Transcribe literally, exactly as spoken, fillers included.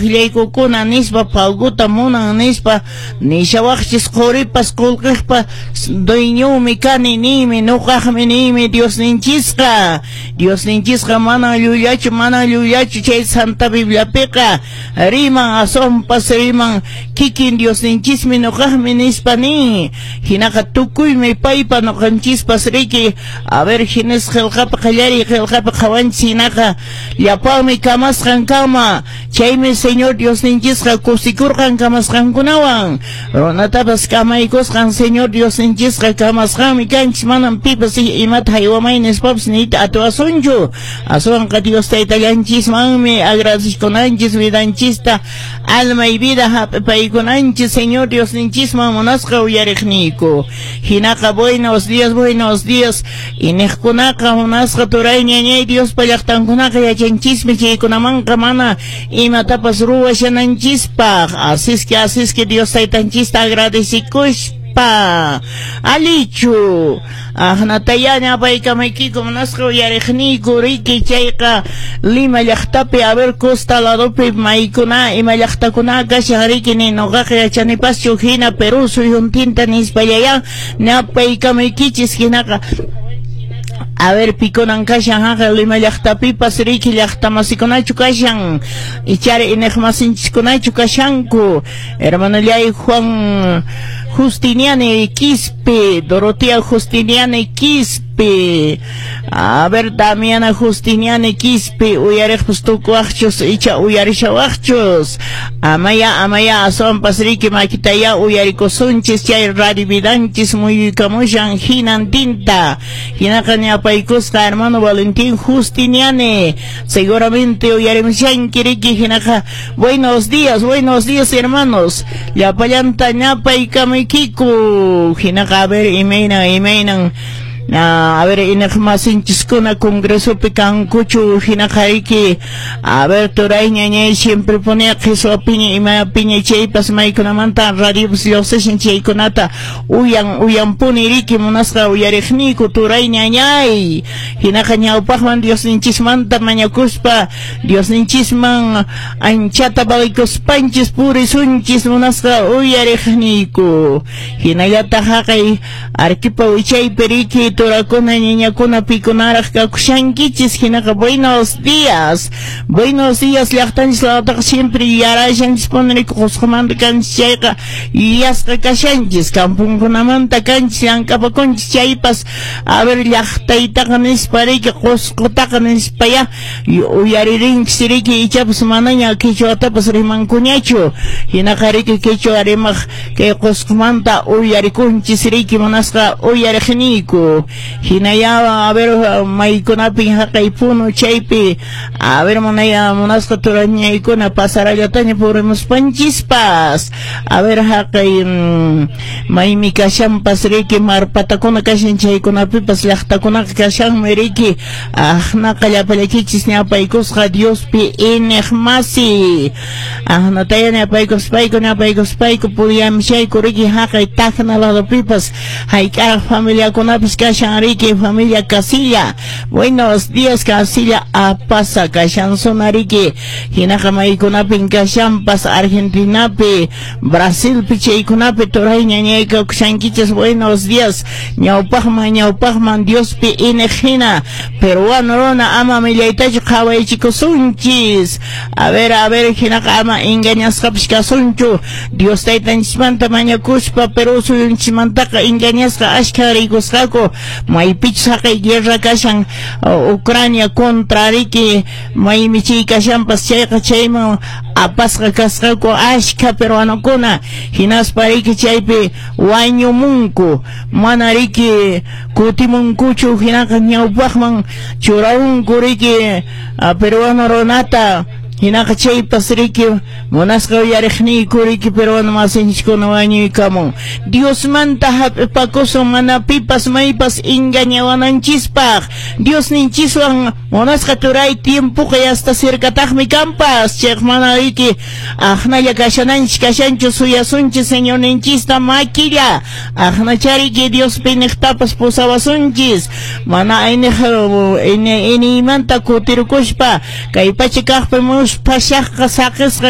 Llaykukuna nispa paguta munan nispa nishawaqchis quripas qullqiqpa dueñomi kani niymi nuqaqmi niymi Diosninchisqa. Diosninchisqa manan llullachu, manan llullachu. Chay Santa Bibliapiqa riman, aswanpas riman kikin Diosninchismi nuqaqmi nispa nin. Hinaqa tukuymi paypa, nuqanchispas riki. A ver, Génesis qillqapi, qallariy qillqapi qhawanchis, hinaqa llapanmi kamasqan kama. Chaymi Señor Diosninchisqa kusikurqan kamasqankunawan, runatapas kamaykusqan. Señor Diosninchisqa kamasqanmi kanchis, manam pipas imata haywamay nispapas niyta atiwasunchu. Aswanqa Dios Taytallanchismanmi agradecikunanchis, vidanchista, alma y vida hap'ipaykunanchis Señor Diosninchisman, munasqa uyariqniyku. Hinaqa buenos días, buenos días iniqkunaqa, munasqa turay ñañay. Diospa llaqtankunaqa yachanchismi chaykunamanqa mana imatapas ruwashananchispaq. Así es que, así es que Dios Taytanchista agradecikuspa alichu aqnataya ñapaykamaykiku, munasqa uyariqniyku. Riki, chayqa Lima llaqtapi, a ver, costa ladopi maykuna, ima llaqtakuna kashan riki, ni nuqaqa yachanipaschu. Hina Perú suyuntinta nispallaya ñapaykamaykichis. Hinaqa a ver, pikunan kashan haqa Lima llaqtapipas riki, llaqtamasikunachu kashan, ichari iniqmasinchiskunachu kashanku? Hermanollay Juan Justiniani Quispe, Dorotea Justiniani Quispe, a ver, Damiana Justiniani Quispe, uyariqpas tukuwaqchus icha uyarishawaqchus. Amaya, amaya, aswanpas riki makitaya uyarikusunchis chay radio vidanchis muyuykamushan hinantinta. Hinaqa ñapaykusqa hermano Valentín Justiniani, seguramente uyarimushanki riki. Hinaqa buenos días, buenos días, hermanos, llapallanta ñapaykamaykiku. Hinaqa a ver, imaynan, imaynan, a ver, iniqmasinchiskuna congresopi kankuchu? Hinaqa riki, a ver, turay ñañay siempre ponía qhiswapiña, imapiña chaypas, maykunamanta radiopas lluqsishan chaykunata uyan uyanpuni riki, munasqa uyariqniyku, turay ñañay. Hinaqa ñawpaqman Diosninchismanta mañakuspa, Diosninchisman anchata valikuspanchis purisunchis, munasqa uyariqniyku. Hinallataq haqay Arequipa wichaypi riki, turakuna ñañakuna, pikunaraq kakushankichis? Hinaqa buenos días, buenos días. Llaqtanchis lawtaqa siempre yarashanchis riki. Qusqumanta kanchis chayqa yuyasqa kashanchis, kampunkunamanta kanchis, llank'apakunchis chaypas, a ver, llaqtaytaqa nispa riki, Qusqutaqa nispaya uyaririnchis riki. Ichapas manaña quechuatapas rimankuñachu. Hinaqa riki quechua rimaq kay Qusqumanta uyarikunchis riki, munasqa uyariqniyku. Hinaya, a ver, maykunapin haqay Puno chaypi, a ver, munaya munasqa turañaykuna, pasarallataña purimuspanchispas. A ver, haqay maymi kashanpas riki, marpatakuna kashan chaykunapipas llaqtakunaqa kashanmi riki. Aqnaqa llapallakichis ñapaykusqa Diospi iniq masi. Aqnataya ñapaykuspayku, ñapaykuspayku puriyamishayku riki. Haqay Tacna ladopipas hayk'aq familiakunapas kashan riki. Familia Casilla, buenos días. Casilla Apasa kashansuna riki. Hinaqa maykunapin kashanpas, Argentinapi, Brasilpi, chaykunapi turay ñañayka kushankichis? Buenos días. Ñawpaqman, ñawpaqman Diospi iniq hina peruano runa ama millaytachu qhawaychikusunchis. A ver, a ver, hinaqa ama engañasqapas kasunchu. Dios Taytanchismanta mañakuspa, Perú suyunchismantaqa engañasqa ashkha rikusqaku. Maypichus haqay guerra kashan Ucrania contra riki, maymi chay kashanpas chayqa, chayman apasqa kasqaku ashkha peruanokuna. Hinaspa riki chaypi wañumunku, mana riki kutimunkuchu. Hinaqa ñawpaqman churaunku riki peruano runata. Hinaqa chaypas riki, munasqa uyariqniyku, riki peruano masinchiskuna wañuykamun. Diosmanta hap'ipakusun, mana pipas maypas engañawananchispaq. Diosninchiswan, munasqa turay, tiempoqa hasta cercataqmi kanpas. Chayqa mana riki aqnalla kashananchis kashanchu, suyasunchis Señorninchista makilla. Aqnachariki Diospi niqtapas pusawasunchis, mana ayniq iniymanta kutirukuspa kay pacha kaqpi musphashaqqa saqisqa.